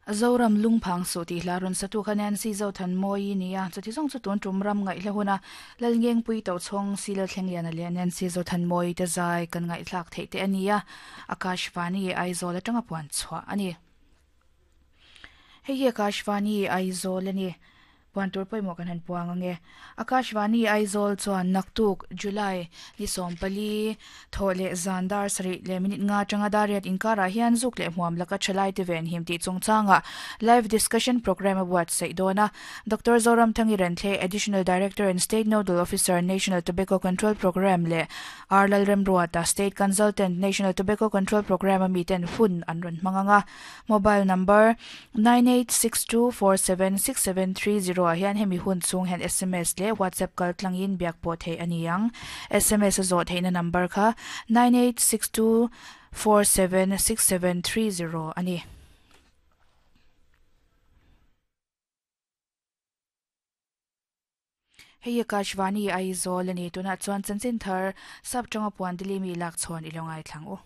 Zoram lungphang suh tih hla rawn satu kha Nancy Zothanmawii ni a, chuti zawng chu tun tum ram ngaihla huna Lalngengpui Tochhawng Sila Thlengliana leh Nancy Zothanmawii te zai kan ngaihthlak theih te a ni a, Akashvani Aizawl atanga puan chhuah a ni. Hei hi Akashvani Aizawl a ni. Puan tur pawimawh kan han puang ang e. Akashvani Aizawl chuan naktuk, July, ni 14, thawh leh zan dar sarih leh minute nga atanga dar riat inkarah hian zuk leh hmuam laka thalai te venhim tih chungchangah live discussion programme a buatsaih dawn a. Doctor Zoramthangi Renthlei, Additional Director and State Nodal Officer, National Tobacco Control Programme leh R Lalremruata, State Consultant, National Tobacco Control Programme a miten hun an rawn hmang ang a. Mobile number, 9862476730 ah hian hemi hun chhung hian sms leh WhatsApp kal tlangin biak pawh theih a ni ang. Sms a zawh theihna number kha 9862476730 a ni. Hei Akashvani Aizawl a ni. Tunah chuan chanchin thar sap tanga puan Delhi mi lak chhawn i lo ngaithlang u.